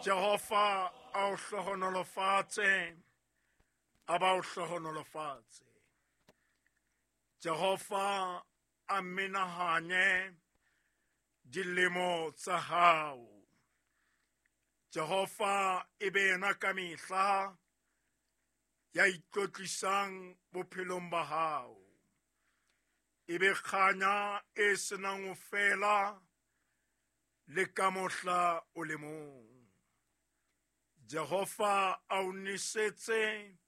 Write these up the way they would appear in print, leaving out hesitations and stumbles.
Jehova a o hlohonolofatse, a ba o hlohonolofatse. Jehova a menahanye dilemo tsa hao. Jehova e be yena ka mehla ya itlotlisang bophelong ba hao. E be kganya e senang ho fela le ka mohla o le mong. Jehova a o nesetse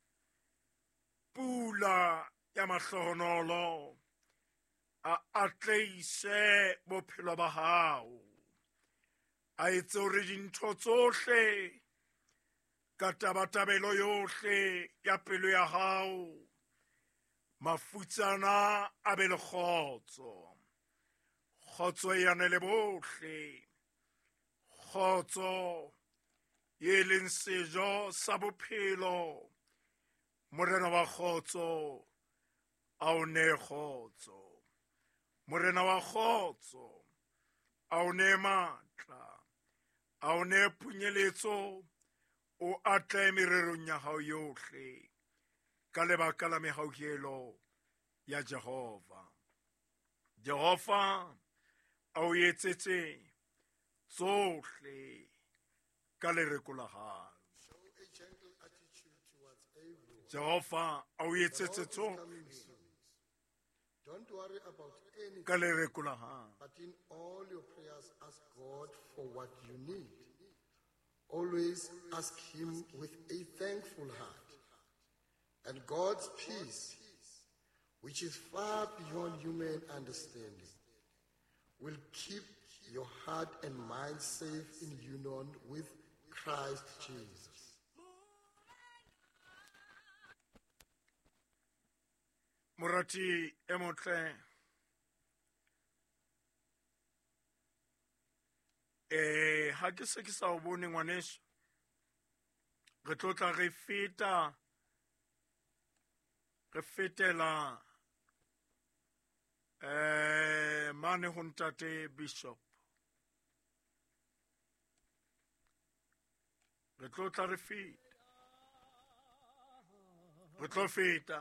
pula ya mahlohonolo, a atleise bophelo ba hao, a etse hore dintho tsohle ka tabatabelo yohle ya pelo ya hao, mafutsana a be le kgotso. Kgotso e anele bohle, kgotso e leng sejo sa bophelo. Morena wa kgotso a o nee kgotso. Morena wa kgotso a o nee matla, a o nee phunyeletso, o atlehe mererong ya hao yohle ka lebaka la mehauhelo ya Jehova. Jehova a o etsetse tsohle ka lereko la hao. Jehova a o etsetse tsohle Don't worry about anything, ka lereko la hao. but in all your prayers, ask God for what you need. Always ask Him with a thankful heart. And God's peace, which is far beyond human understanding, will keep your heart and mind safe in union with Christ Jesus. Morati e motle, ha ke se ke sa o bone ngwaneso, re tlo tla re feta, re fetela mane ho ntate Bishop. Re tlo tla re feta, re tlo feta.